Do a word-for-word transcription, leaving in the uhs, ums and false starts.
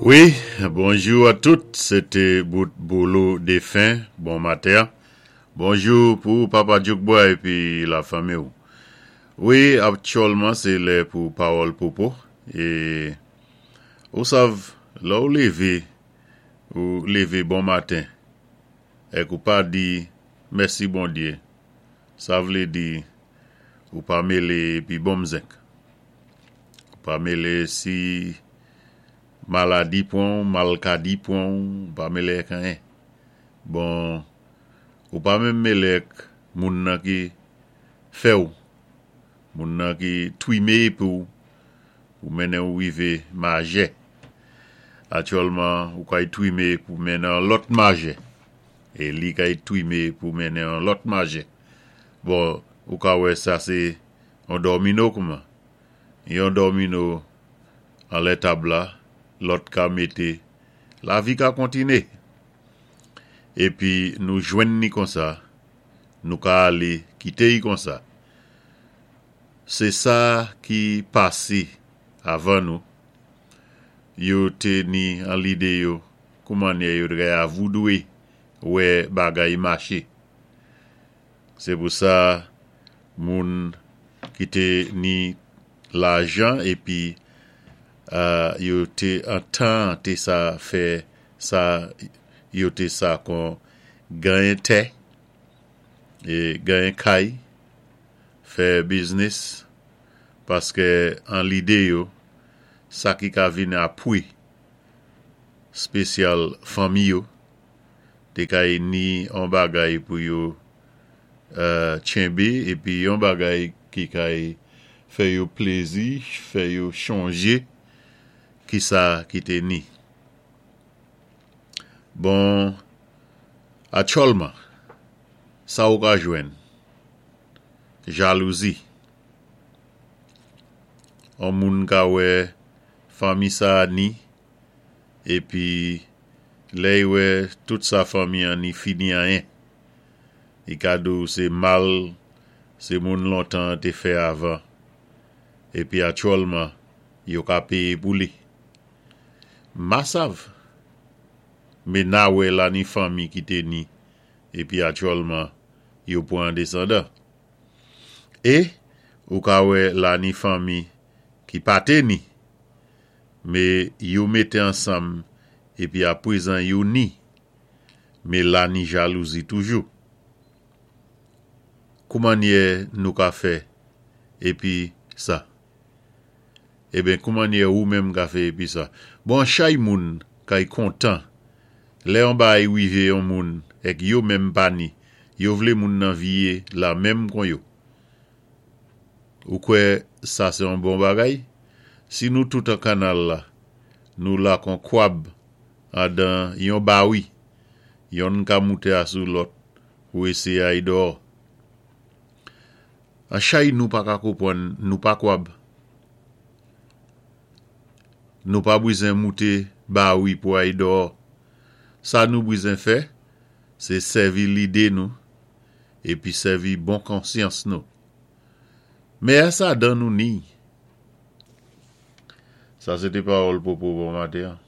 Wi, bonjou a tout, sété bout Bolo défen, bon maten. Bonjou pou Papa Djoukboy épi la fanmi. Wi, aktyèlman sé lè pou pawòl Popo. É ou sav, lè ou lévé, ou lévé bon maten, èk ou pa di mèsi Bondyé, sa vlé di ou pa mélé épi bon zenk. Ou pa mélé si maladi pwan, malkadi pwan, ou pa mélé èk anyen. Bon, ou pa menm mélé èk moun nan ki fè ou, moun nan ki twimé pou ou mennen ou wivé majè. Aktyèlman, ou kay twimé pou mennen an lòt majè. É li kay twimé pou mennen an lòt majè. Bon, ou ka wè sa sé an domino kouman. Yon domino anlè tab la, lòt ka mété, lavi ka kontiné. Épi nou jwenn ni konsa, nou ka alé kité y konsa. Sé sa ki pasé avan nou. Yo té ni an lidé yo, kouman yo drè avoudwé wè bagay maché. Sé pou sa moun ki té ni lajan épi euh, yo té an tan té sa fè sa yo té sa kon ganyen tè é ganyen kay fè biznis paské an lidé yo sa ki ka vini apwé spesyal fanmi yo té kay ni an bagay pou yo euh, tchenbé épi yon bagay ki kay fè yo plézi, fè yo chonjé ki sa ki té ni. Bon, aktyèlman, sa ou ka jwenn, jalouzi. An moun ka wè fanmi sa ni, épi lè y wè tout sa fanmi an ni fini anyen. I ka di ou sé mal, sé moun lontan té fè avan. Épi aktyèlman, yo ka péyé pou li. Ma sav, mé na wè la ni fanmi ki té ni, épi aktyèlman, yo pwan désandan. É, ou ka wè la ni fanmi ki pa té ni, mé yo mété ansanm épi apwézan yo ni, mé la ni jalouzi toujou. Koumannyè nou ka fè épi sa? Eben, koumannyè ou menm ka fè épi sa? Bon, chay moun kay kontan, lè an bay wivé yon moun, èk yo menm pa ni, yo vlé moun nan viyé la menm kon yo. Ou kwè sa sé an bon bagay? Si nou tout an kanal la, nou la kon kwab andan yon bawi, yonn ka mouté asou lòt pou éséyé ay dò. An chay nou pa ka konpwann, nou pa kwab. Nou pa bwizen mouté bawi pou ay dò. Sa nou bwizen fè, sé sèvi lidé nou, épi sèvi bon konsyans nou. Mé a sa dan nou ni. Sa sété pawòl Popo bon maten.